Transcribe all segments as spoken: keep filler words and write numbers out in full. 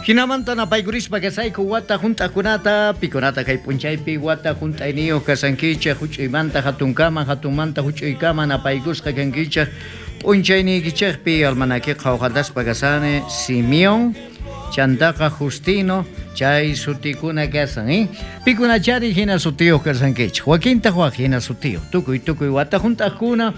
Jinamanta napaykurispa kasayku wata junt'akunata, pikunata kay p'unchaypi wata junt'ayniyuq kasankichik, juch'uymanta jatunkama, jatunmanta juch'uykama napaykusqa kankichik. P'unchayniykichikpi almanakiq qhawqataspa kasani, Simeón, chantaqa Justino, chay sutikuna kasan, ¿eh? Pikunachari jina sutiyuq kasankichik, wakintaq wak jina sutiyuq, tukuy tukuy wata junt'aqkuna,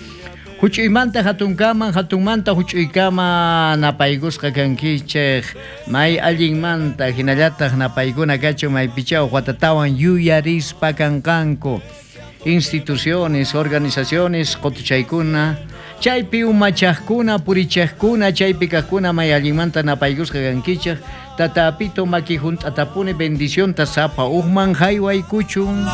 juch'uymanta jatunkama, jatunmanta juch'uykama napaykusqa kankichik, may allinmanta, jinallataq napaykuna kachun maypichá huk watatawan yuyarispa kanqanku. Instituciones, organizaciones, qutuchaykuna, chaypi umachaqkuna, purichaqkuna, chaypi kaqkuna may allinmanta napaykusqa kankichik, Tata Apito maki junt'atapuni bendicionta sapa hukman jaywaykuchun.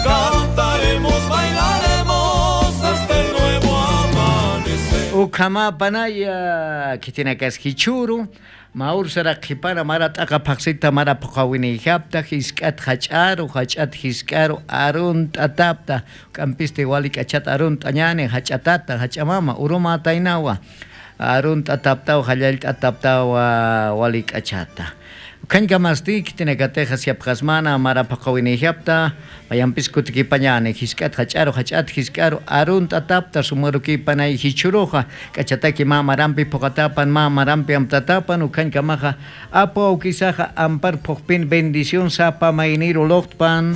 Cantaremos, bailaremos este nuevo amanecer. Ukhama panaya, khitinakas jichhüru, mä ursaraq qhipana mara t'aqa phaqsita mara phuqhawinïjapta, jisk'at jach'aru, jach'at jisk'aru, arunt'atapta, k'ampisti wali k'achat arunt'añäni, jach'atata, jach'amama, urumätaynawa. Arunt'ataptaw, jallallt'ataptaw, wali k'achata. Ukhañkamasti, khitinakatixa siyapxasmana mara phuqhawinïjapta, mayampis kutikipañäni, jisk'at jach'aru, jach'at jisk'aru, arunt'atapta, sumarukipanay jichhüruxa, k'achataki mä marampi phuqatapan, mä marampi amtatapan, ukhañkamaxa, apu awkisaxa ampar phuqpin bendición sapa mayniru luqtpan.